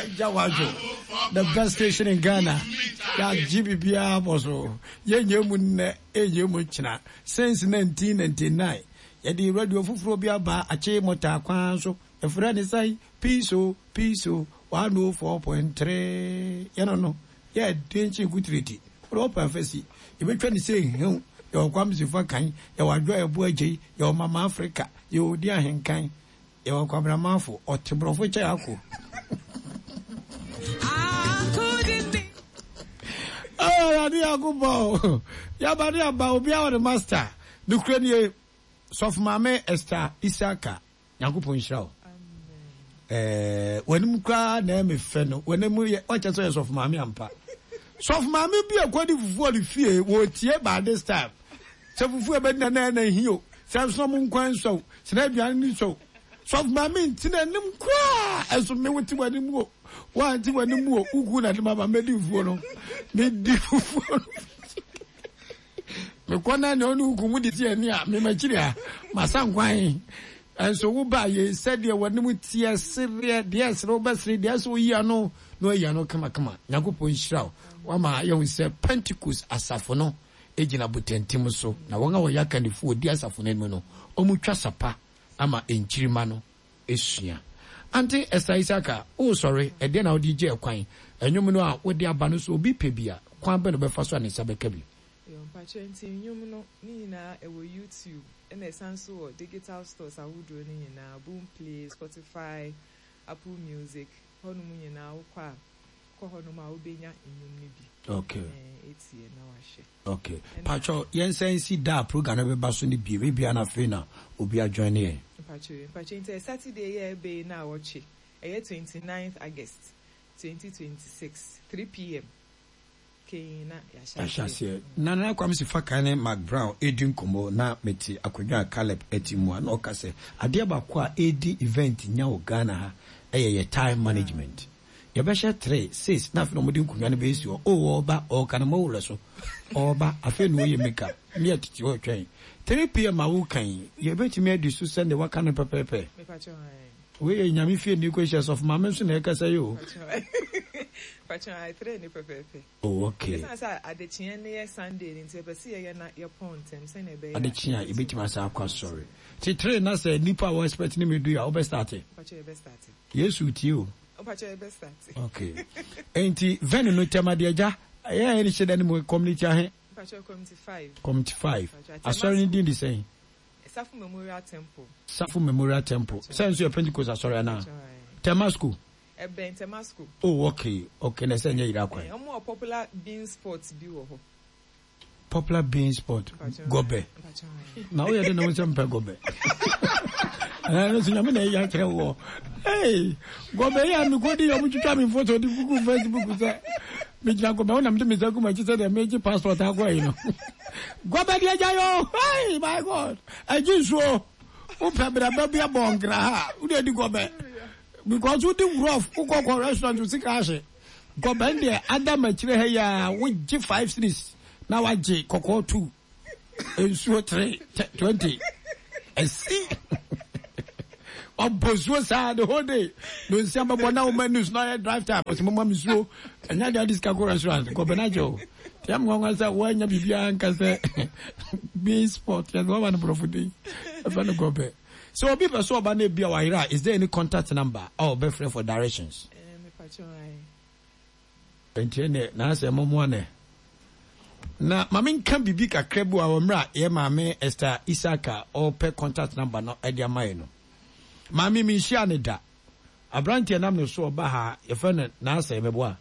Agya Wadwo, the best station in Ghana. Yɛagye biribiara bɔ so. Yɛnyɛ mu nnɛ, ɛnyɛ mu kyena. Since 1999, yɛde radio foforɔ bi aba akye mɔtaa kwan so. Yɛfrɛ ne sɛn? Peace o, peace o, 104.3. Yɛno no, yɛ den kye kutireti. Wode wɔpɛ afasi. Yɛbɛtwa ne sɛ hew. Yɛwɔ Kwame Sefa kan, yɛwɔ Adwoa Yɛbo Agyei, yɛwɔ Mama Africa, yɛwɔ Odi Ahenkan. Yɛwɔ Kwabena Marfo, ɔte borɔfo kyɛ ako. Awurade Nyankopɔn, yaba ne aba, obiara wɔ ne master. Nokorɛ nie, Sɔfo Maame Esther Isaka, Nyankopɔn nhyira wo. Eh, w'anim koraa na ɛyɛ me fɛ no, w'anim yɛ, wakyɛ sɛ ɔyɛ Sɔfo Maame ampa. Sɔfo Maame bi a kɔdi fufuo wɔ ne fie, wɔtie by this time. Sɛ fufuo a ɛbɛdi na na ɛna hi o, sɛ nso mo nkwan nsɔ o, sɛ na aduane no nsɔ o. Sɔfo maame nti n'anim koraa, ɛso me wote w'anim o, woante w'anim o, woku na de ma ma mɛdi fufuo no, medi fufuo no. Mekɔ na nea ɔne woku mu de ti ani a, memakyiri a, masa nkwan. Ɛnso wo ba yei sɛdeɛ w'anim teɛ sereɛ, deɛ ɛsere wobɛsere, deɛ ɛsɛ woyi ano na wayi ano kamakama. Nyankopɔn nhyira wo, wama yɛhu sɛ Pentecost asafo no gyina botantim so, na wɔn a wɔyɛ akannifo a wɔdi asafo no anim no, wɔtwa sa pa ama nkyirimma no sua. Ante Esther Isaka, woresɔre, ɛdeɛn na wode regye ɛkwan? Nnwom no a wode aba no, sɛ obi pɛ bi a, kwan bɛn na ɔbɛfa so a ne nsa bɛka bi? Yo, mpakyɛ nti nnwom no ne nyinaa ɛwɔ YouTube ɛna ɛsan nso wɔ digital stores ahodoɔ no nyinaa, Boomplay, Spotify, Apple Music, hɔnom nyinaa wokɔ a kɔ hɔnom a wobɛnya nnwom no bi Okay. atie na wahwɛ. Okay. Ɛna. Pakyɛw, yɛnsan nsi da a program no bɛba so no bio, ebia na afei na obi ajoine yɛn. Mpakyɛw, mpakyɛw nti ɛyɛ Saturday yi a ɛreba yi naawɔtwe, ɛyɛ 29th August, 2026, 3pm. Kane na yɛahyɛ Yɛahyɛ aseɛ. aseɛ. Na Nana Kwame Sifakan ne Mark Brown redi nkɔmmɔ na mete akonnwa a Caleb te mu a na ɔka sɛ adeɛ baako a ɛredi event nya wɔ Ghana ha yɛ yɛ time management. Yɛbɛhyɛ tre, sis na afei na wɔde nkonnwa no bɛsi hɔ. Oh ɔreba, ɔreka no mɔwerɛ so. Ɔreba, afei na ɔreyɛ make up. Me a tete hɔ retwɛn. 3 pm a woreka yi, yɛbɛtumi adi so sɛdeɛ waka no pɛpɛɛpɛ? Mepakyɛw ae. Wei yɛ Nyame fie ni kɔ hyɛ sɔfo maame nso na ɛkasa yi o. Pakyɛw ae tre ne pɛpɛɛpɛ. Oh okay. Ɛsan sɛ adekyeɛ no yɛ Sunday no nti yɛpɛ sɛ yɛyɛ na yɛpɔn ntɛm sɛnea ɛbɛyɛ a. Adekyeɛ a yɛbɛtumi asan akɔ asɔre. Nti tre na sɛ nipa a wɔ expect ne me du a wobɛ starte? Pakyɛw yɛbɛ starte. Yesu tie o. Mpakyɛw yɛbɛ starte. Okay. Nti venue no Tema deɛ agya ɛyɛ a yɛne hyɛ da no mu community ahe? Mpakyɛw community five. Community five. Mpakyɛw Asɔre no din de sɛn? Safo Memorial Temple. Safo Memorial Temple. Sɛ nso yɛ Pentecost asɔre anaa? Tema school. Ɛbɛn Tema school. Oh okay okay na ɛsɛ nyɛ yira kwan. Wɔn wɔ popular bean spot bi wɔ hɔ. Popular bean spot gɔbɛ. Na woyɛ de na wo nsɛm pɛ gɔbɛ. Ɛna nso nyame na ɛyɛ akyerɛ wɔ. Hey gɔbɛ yi a mekɔdi yɛ ɔmo twitwa me photo de gugu Facebook sɛ megyina gɔbɛ ho na mede me nsa gu m'akyi sɛ deɛ megye passport akɔ ayi no. Gɔbɛ deɛ gya yɔ hey my God ɛgye nsuo wopɛ braba bi abɔ nkra ha wode di gɔbɛ because wodi rough wokɔ kɔ restaurant wo sika ahye gɔbɛ deɛ ada makyire ha yi a wogye five series na wagye kɔkɔɔ two nsuo three 20 ɛsi wabɔ nsuo saa the whole day no nsia bɛbɔ na woma news na ɔyɛ drive time ɔsɛ moma me nsuo ɛnyɛ deɛ ɔde sika kɔ restaurant gɔbɛ no agye o Yɛ me nwanwa sɛ woannya biribiara nka sɛ bean spot yɛ sɛ wama no borɔfo din ɛfɛ no gɔbɛ. Sɛ obi pɛ sɛ ɔba na ebi a wayera a is there any contact number a ɔbɛfrɛ for directions? Nti ɛnɛ n'asɛ mɔmoa nɛ. Na ma menka biribi kakra bi wɔ mmerɛ a yɛ maame Esther Isaka ɔrepɛ contact number no de ama yɛ no. Maame menhyia ne da. Aberanteɛ nam ne so ɔba ha yɛfrɛ no n'asɛ mɛboa.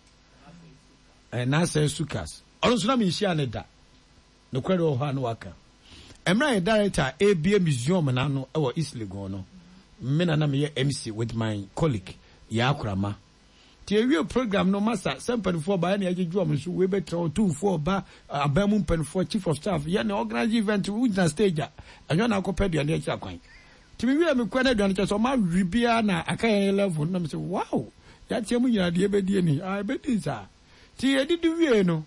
Nasser Sukas, ɔno nso na menhyiaa no da. Nokorɛ deɛ wɔ hɔ a na waka. Mmerɛ a yɛ director rebue museum no ano wɔ East Legon no, me na na meyɛ MC with my colleague, Yaa Korama. Nti yɛwiee program no, masa, sɛ mpaninfoɔ ba yɛne yɛgyegye wɔn nso, wei bɛtena hɔ, Otumfoɔ ba, aban mu mpaninfoɔ, chief of staff, yɛne organise event, wogyina stage a, ɛnyɛ na akɔpɛ aduane akyira kwan. Nti me wiee me kɔ na aduane kyɛ sɛ ɔmo awe biaa na aka yɛn level no na me sɛ wow yateɛ mu nyinaa deɛ yɛbɛdie ni ah ɛbɛdi saa nti yɛdidi wiee no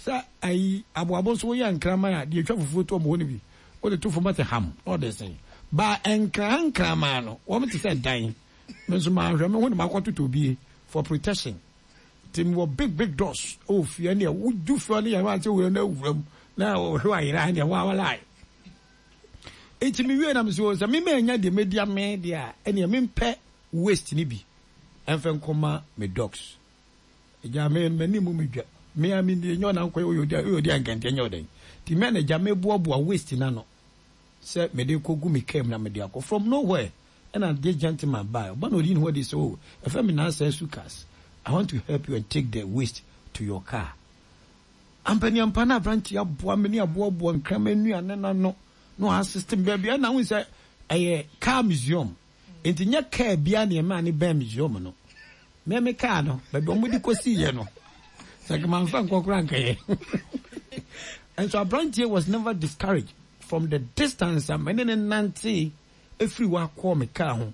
sɛ ayi aboabo nso woyɛ nkraman a deɛ etwa fufuo to ɔmo hɔ no bi wode to fam ate ham na ɔde sen ba nkran nkraman no wɔn te sɛ dan me nso manhwɛ me ho na makɔtotɔ bie. For protection. Nti mewɔ big big doors wɔ fie ɛneɛ wodu fie hɔ ne yɛn sɛ wura no awura mu na ɔhwɛ ayera ɛneɛ wawalae. Nti mewie na mesɛ sɛ me manya deɛ mɛdi amee deɛ a ɛneɛ mempɛ waste no bi ɛmfɛ nkɔma me dogs. Agya me m'ani mu medwa me a me nyɛ ɔna nkɔyɛ oyɛ odi oyɛ odi ankɛntɛ nyɛ ɔdɛn. Nti me na agya meboaboa waste no ano sɛ mede kɔgu me car mu na mede akɔ from nowhere. Ɛna this gentleman bae, ɔba na ɔyii ne ho adi sɛ, oh, ɛfɛ me Nansa Sukas, I want to help you and take the waste to your car. Ampaniampa na aberante aboa me ne aboaboa nkraman nnuane no ano na ɔasiste me baabi ɛna wohu sɛ ɛyɛ car museum nti nyɛ car biara na ɛmaa ne bɛn museum no. Me me car no, baabi a wɔde kɔsiiɛ no, sɛ nka mamfa nkɔ koraa nkɛyɛ. And so aberanteɛ was never discouraged from the distance a me ne ne nantee ɛfiri hɔ akɔ me car ho.